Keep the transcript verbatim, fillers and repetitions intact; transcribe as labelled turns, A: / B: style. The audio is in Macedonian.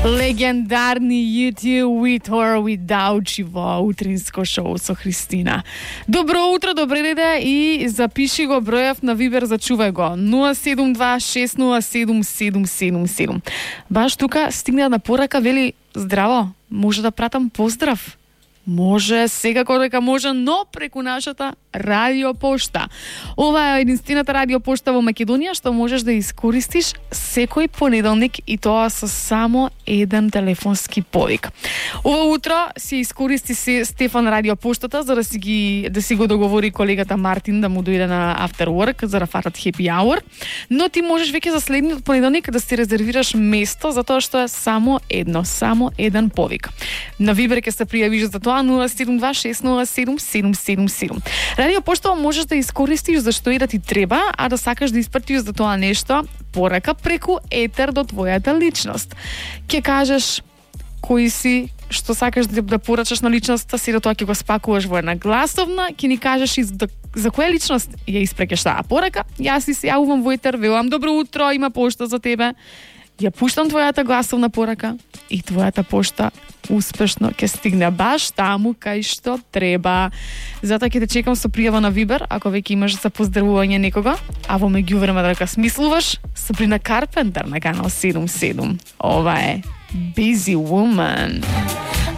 A: Легендарни YouTube With or Without You во утринско шоу со Христина. Добро утро, добре деде и запиши го бројав на Вибер, зачувај го. нула седум два шест нула седум седум седум седум. Баш тука стигна на порака, вели здраво, може да пратам поздрав? Може, секако дека може, но преку нашата радиопошта. Ова е единствената радиопошта во Македонија што можеш да искористиш секој понеделник и тоа со само еден телефонски повик. Ова утро си искористи се Стефан радиопоштата за да си ги да си го договори колегата Мартин да му дојде на after work за да фатат happy hour, но ти можеш веќе за следниот понеделник да си резервираш место затоа што е само едно, само еден повик. На Вибер ќе се пријавиш за тоа нула седум два шест нула седум седум седум седум. Радиопошта можеш да искористиш за што и да ти треба, а да сакаш да испратиш за тоа нешто порака преку етер до твојата личност. Ќе кажеш кој си, што сакаш да, да порачаш на личноста си, да тоа ќе го спакуваш во една гласовна, ќе ни кажеш и за, за која личност ја испрекаш таа порака. Јас си се јавувам во етер, велам добро утро, има пошта за тебе. Ја пуштам твојата гласовна порака и твојата пошта успешно ќе стигне баш таму кај што треба. Затоа ќе те чекам со пријава на Вибер, ако веќе имаш за поздравување некога, а во меѓувреме дека смислуваш, Сабрина Карпентер на канал седум седум. Ова е Busy Woman.